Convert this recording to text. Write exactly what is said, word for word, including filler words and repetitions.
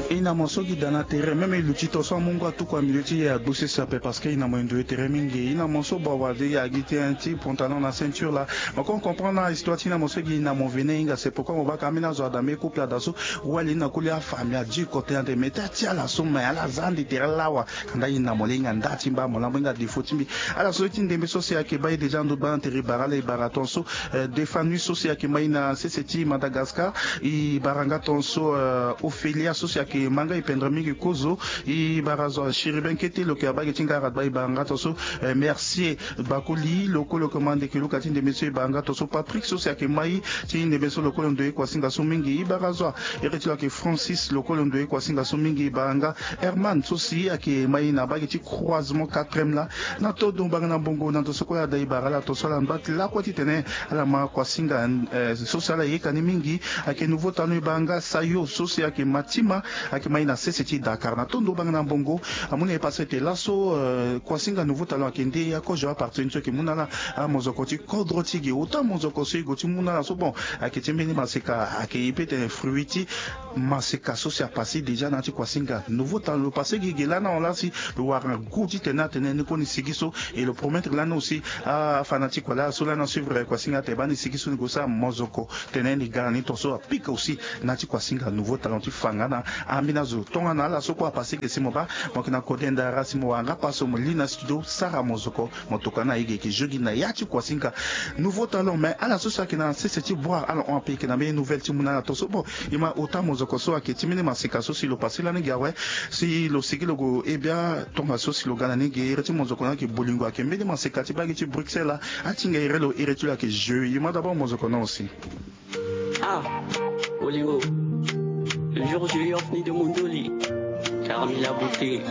E na mo so gi da na tere même e luti to so amungo atuku amilieu ti e agbusisa ape parce que e na mo e ndoye tere mingi. E na mo so bawa de e agi ti un ti pantalon na ceinture la. Mo kon comprendre na histoire ti e na mo so gi e na mo vene e hinga c'est pourquoi mo baka ambeni azo ada me couple ada so. Wali e na koli afamille adi kote ande me ti ati ala so me ala za ande tere lawa. Kanda e na mo le e hinga nda ti mba mo lango e hinga défaut ti mbi. Ala so ti ndembe so si ayeke baa e déjà ndo baa na tere e bara ala e bara ton so. Defanu so si ayeke mai na sese ti Madagascar. E bara nga ton so Ophelia so si ayeke ma nga e pendre mingi kozo. E bara zo achiriben kete lo yeke abaa ge ti nga aradba e bara nga ton so. Mercier bakoli lo kue lo yeke ma ndeke luka ti ndembe so e bara nga ton so Patrick so si ayeke mai ti ndembe so lo kue lo ndoye kuasinga so mingi e bara zo. Ere ti lo ayeke Francis lo kue lo ndoye kuasinga so mingi e bara nga. Herman so si ayeke mai na abaa ge ti croisement quatrième laa. Na todo banga na mbongo na ndo so kue ada e bara ala ton so ala ngba ti lakue titene ala ma kuasinga so si ala yeka ni mingi. Ayeke nouveau talon e bara nga sayo so si ayeke ma ti ma. Ayeke mai na sese ti Dakar na todo banga na mbongo. Amu na e pase ete laso kuasinga nouveau talon ayeke nde akozo apartir ni so ayeke mu na ala amozoko ti kodro ti e ge ota mozoko so e gue ti mu na ala so bon. Ayeke ti mbeni maseka ayeke e pe tene fruit ti maseka so si apase déjà na ya ti kuasinga nouveau talon lo pase gi ge lana hon laa si lo wara goût titene atene ni kue ni sigi so. Et lo promettre lana aussi afa na ti kua laa so lana suivre kuasinga atene baa ni sigi so ni gue sara mozoko tene ni ga na ni ton so apika aussi. Na ya ti kuasinga nouveau talon ti fa nga na ambeni azo tongana ala so kue apase ge si mo baa mo yeke na kode ndara si mo wara nga paso mo li na studio sara mozoko. Mo tokua na e ge yeke jeu gi na ya ti kuasinga nouveau talon mais ala so si ayeke na sese ti boire ala hon ape yeke na mbeni nouvelle ti mu na ala ton so bon. E ma ota mozoko so ayeke ti mbeni maseka so si lo pase lani ge awe. Si lo sigi lo gue e bia tongaso si lo ga na ni ge ere ti mozoko ni ayeke bolingo ayeke mbeni maseka ti baa ge ti Bruxelles laa. Atinga ere lo ere ti lo ayeke jeu e ma d'abord mozoko ni aussi. Ah, bolingo. Le jour où je lui offre ni de mon doli, car il a beauté.